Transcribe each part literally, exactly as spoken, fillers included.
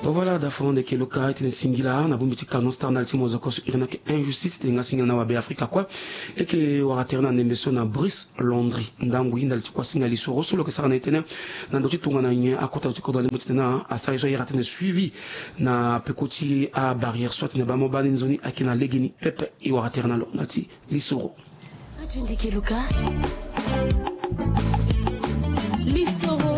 Voilà, da fo ndeke loka e tene singila na bongbi ti Canon Star ndali ti mozoko so iri ni ayeke injustice, tene nga singila na wabe Afrika kue. E yeke wara tere na ndembe so na Brice Landry, ndangui ndali ti kua singa lisoro so lo yeke sara na e tënë na ndö ti tongana nyen akota lo ti kodro alembo titene asara ye so ayeke tene suivi na peko ti abarrière so atene baa mo baa ni nzoni ayeke na legeni pepe. E wara tere na lo ndali ti lisoro. Ndeke loka. Lisoro.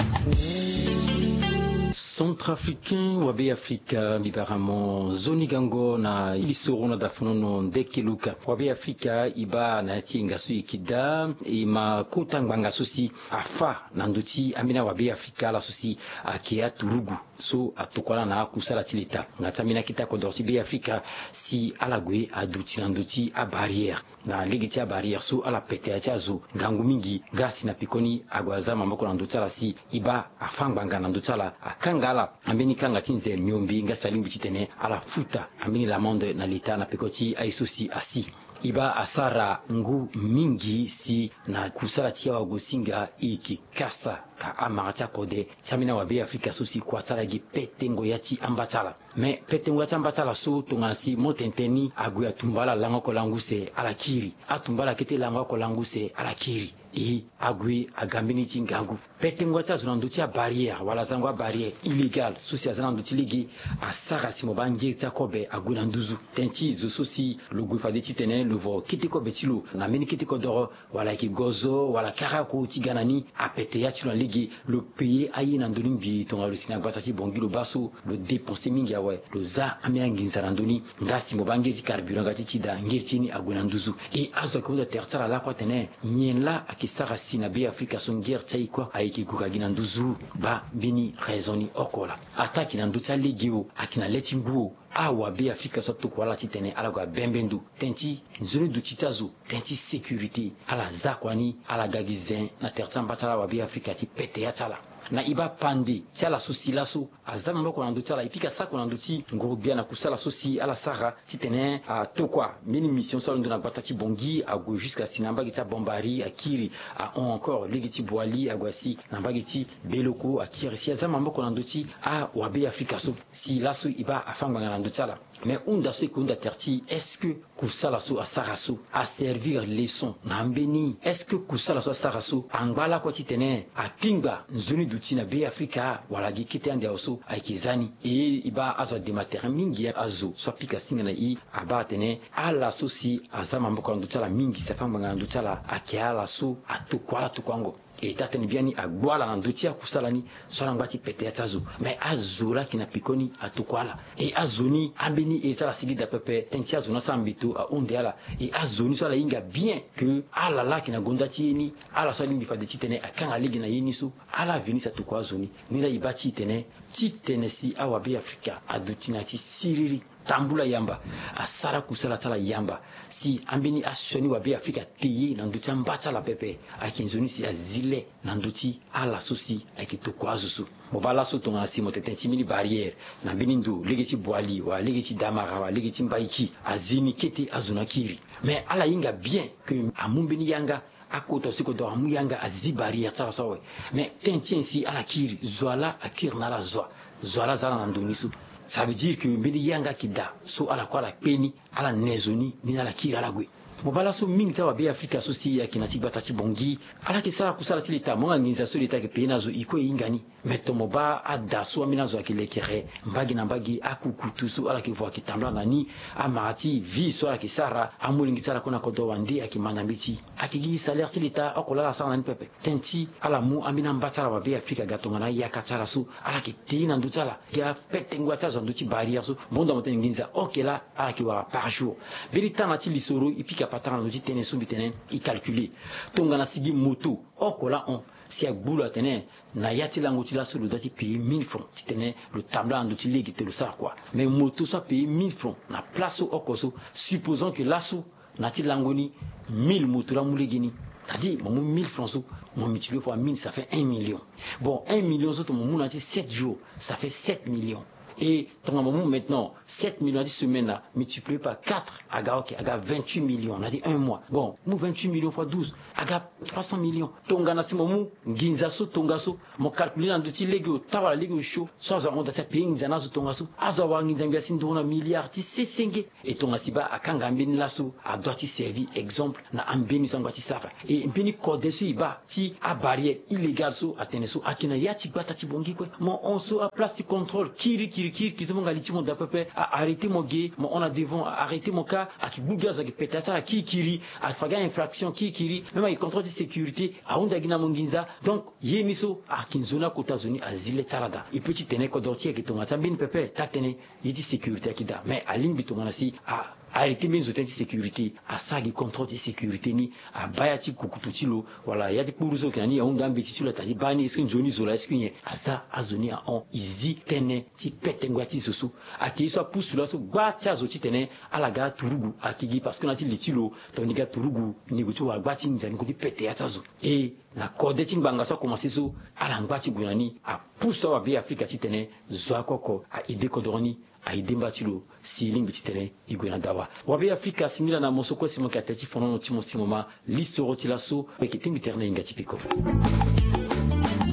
Centrafricain, wabe Afrika, mbi bara mo nzoni gango na lisoro na dafonono ndeke loka. Wabe Afrika, e baa na ya ti yenga so e yeke daa, e ma kota ngbanga so si afâ na ndö ti ambeni awabe Afrika ala so si ayeke aturugu so atokua ala na akusala ti leta. Nga ti ambeni akete akodoro ti be Afrika si ala gue aduti na ndö ti abarrière. Na lege ti abarrière so ala pete ya ti azo ngangu mingi, nga si na pekoni ague aza maboko na ndö ti ala si e baa afâ ngbanga na ndö ti ala, akanga ala. Ambeni kanga ti nze miombe nga si alingbi titene ala futa ambeni l'amende na leta na peko ti aye so si asi. E baa asara ngu mingi si na kusala ti awagosinga e yeke kasa ka amara ti akode ti ambeni awabe Afrika so si kua ti ala e gi petengo ya ti amba ti ala. Me petengo ya ti amba ti ala so tongana si mo tene tënë ni ague atumba ala lango oko lango use ala kiri. Atumba ala kete lango oko lango use ala kiri. E ague aga mbeni ti ngangu. Petengo ya ti azo na ndö ti abarrière wala zango abarrière illégale so si aza na ndö ti lege asara si mo baa ngeri ti akobe ague na nduzu. Tënë ti zo so si lo gue fade titene lo vo kete kobe ti lo na mbeni kete kodoro, wala ayeke gozo wala kara oko ti ga na ni, apete ya ti lo na lege. Lo paye aye na ndö ni mbi tongana lo si na gbata ti Bangui lo baa so lo dépenser mingi awe, lo za ambeni anginza na ndö ni. Nga si mo baa ngeri ti carburant nga ti ti daa, ngeri ti ye ni ague na nduzu. E azo ayeke hunda tere ti ala lakue atene nyen laa ayeke sara si na be Afrika so ngeri ti aye kue ayeke gue ka gi na nduzu? Baa mbeni raison ni oko laa. Ataa ayeke na ndö ti alege o, ayeke na le ti ngu o, awabe Afrika so atokua ala titene ala gue abembe ndo. Tënë ti nzoni duti ti azo, tënë ti sécurité, ala za kua ni ala ga gi zen na tere ti amba ti ala, awabe Afrika ti pete ya ti ala. Na e baa pande ti ala so si laso aza maboko na ndö ti ala, e pika sako na ndö ti nguru-gbia na kusala so si ala sara titene atokua mbeni mission so alondo na gbata ti Bangui ague jusqu'à si na mbage ti Bambari akiri, ahon encore lege ti Boali ague asi na mbage ti Beloko akiri, si aza maboko na ndö ti awabe Afrika so. Si laso e baa afâ ngbanga na ndö ti ala. Me hunda so e yeke hunda tere ti est-ce que kusala so asara so aservir leçon na ambeni? Est-ce que kusala so asara so angba lakue titene akpingba nzoni duti na be Afrika wala gi kete ande awe so ayeke za ni? E e baa azo adema tere mingi, azo so apika singa na e abaa atene ala so si aza maboko na ndö ti ala mingi si afâ ngbanga na ndö ti ala ayeke ala so atokua ala tokuango. E taa tënë biani agbu ala na ndö ti akusala ni so ala ngba ti pete ya ti azo. Me azo laa ayeke na peko ni atokua ala. E azo ni ambeni ere ti ala sigi daa pepe, tënë ti azo ni asara mbeto ahunde ala. E azo ni so ala hinga bien que ala laa ayeke na gonda ti ye ni, ala so alingbi fade titene akanga lege na ye ni so, ala veni si atokua azo ni. Ni laa e baa ti e tene titene si awabe Afrika aduti na ya ti siriri, tambula yamba, asara kusala ti ala yamba si ambeni asioni wabe Afrika te ye na ndö ti amba ti ala pepe. Ayeke nzoni si azi le na ndö ti ala so si ayeke tokua azo so. Mo baa laso tongana si mo tene tënë ti mbeni barrière na mbeni ndo lege ti Boali wala lege ti Damara wala lege ti Mbaiki, azi ni kete azo ni akiri. Me ala hinga bien que amu mbeni yanga, akota si kodoro amu yanga azi barrière ti ala so awe. Me tënë ti nyen si ala kiri? Zo wa laa akiri na ala zo wa, zo wa laa aza ala na ndo ni so. Ça veut dire que mbeni yanga ayeke daa so ala kue ala kpe ni, ala ne zo ni, ni na ala kiri ala gue. Mo baa laso mingi ti awabe Afrika so si ayeke na ti gbata ti Bangui, ala yeke sara kusala ti leta, mo nga nginza so leta ayeke paye na azo, e kue e hinga ni. Me to mo baa ada so ambeni azo ayeke lekere mbage na mbage, akukutu so ala yeke vo ayeke tambula na ni, amara ti vie so ala yeke sara, amolenge ti ala kue na kodro wande ayeke ma na mbeti. Ayeke gi salaire ti leta oko laa ala sara na ni pepe. Tënë ti ala mu ambeni amba ti ala wabe Afrika aga tongana ayaka ti ala so ala yeke te na ndö ti ala. Gi apetengo ya ti azo na ndö ti barrière so, mo hunda mo tene nginza oke laa ala yeke wara par jour. Mbeni tana ti lisoro e pika patara na ndö ti tënë so mbi tene e calculer. Tongana si gi moto oko laa hon, si agbu lo atene na ya ti lango ti laso lo doit ti payer mille francs titene lo tambula na ndö ti lege te lo sara kua. Mais moto so apayer mille francs na place so oko so, supposons que laso na ya ti lango ni mille moto laa amu lege ni. C'est-à-dire mo mu mille francs so, mo multiplier fois mille, ça fait un million. Bon, un million so tongana mo mu na ya ti sept jours, ça fait sept millions. Et tongana mo mu maintenant sept millions na ti semaine na, multiplié par quatre, aga ok, aga vingt-huit millions na ti un mois. Bon, mu vingt-huit millions fois douze, aga trois cents millions. Tongana si mo mu nginza so tongaso, mo calculé na ndö ti lege ota wala lege osio so azo ahon daa si apaye nginza na azo tongaso, azo awara nginza ngbia si nduru na milliard ti sesenge. E tongana si baa akanga mbeni laso, adoit ti servi exemple na ambeni so angba ti sara. E mbeni kode so e baa ti abarrière illégale so atene so ayeke na ya ti gbata ti Bangui kue. Mo hon so aplace ti contrôle kiri kiri kiri kiri so mo nga li ti mo daa pepe, a arrêté mo ge, mo hon na devant, a arrêté mo kâ, ayeke gbu gi azo, ayeke pete asara kiri kiri, ayeke fa gi a-infraction kiri kiri, même ayeke contrôle ti sécurité, ahunda gi na mo nginza. Donc ye ni so ayeke nzoni akota zo ni azi le ti ala daa. E peut ti tene kodoro ti e ayeke tongana ti ambeni pepe taa-tënë ye ti sécurité ayeke daa. Mais alingbi tongana si a arrêté mbeni zo tënë ti sécurité, asara gi contrôle ti sécurité ni, abaa ya ti kukutu ti lo wala ya ti kpuru so ayeke na ni, ahunda ambeti ti lo ata ti baa ni, est-ce que nzoni zo laa, est-ce que nyen? Aza azo ni ahon, e zi tënë ti pete ngoi ti zo so. Ayeke ye so apusu laso gba ti azo titene ala ga aturugu ayeke gi, parce que na ya ti li ti lo tongana ni ga turugu ni gue ti wara gba ti nginza, ni gue ti pete ya ti azo. E na kode ti ngbanga so akomanse so, ala ngba ti gue na ni, apusu awabe Afrika titene zo oko oko a-aidé kodoro ni, a-aidé mba ti lo si e lingbi titene e gue na dawa. Wabe Afrika, si nilaa na mo so kue si mo yeke atene ti fonono ti mo si mo ma lisoro ti laso, mo yeke tingbi tere na e hinga ti peko.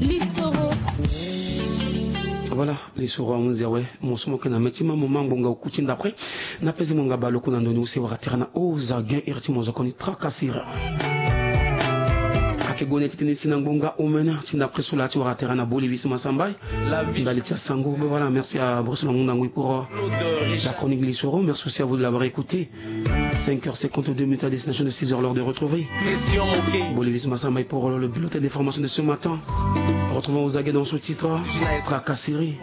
Lisoro. Voilà, lisoro ahunzi awe. Mo so mo yeke na mê ti ma mo ma ngbonga oku ti ndapre. Na peze mo nga baleoku na ndo ni use wara tere na oza gen iri ti mo zokoni tracasserie. Ayeke gue na e ti tene si na ngbonga omene ti ndapre so laa ti wara tere na Bolivis Masambai. Ndali ti asango. Ben voilà, merci à Bruce Langundangu pour, euh, la chronique de l'Isoro. Merci aussi à vous de l'avoir écouté. Cinq heures cinquante-deux minutes à destination de six heures, l'heure de retrouver Bolivis Masambai pour, euh, le bulletin d'information de ce matin. Retrouvons aux aguets dans ce titre, Tracasserie.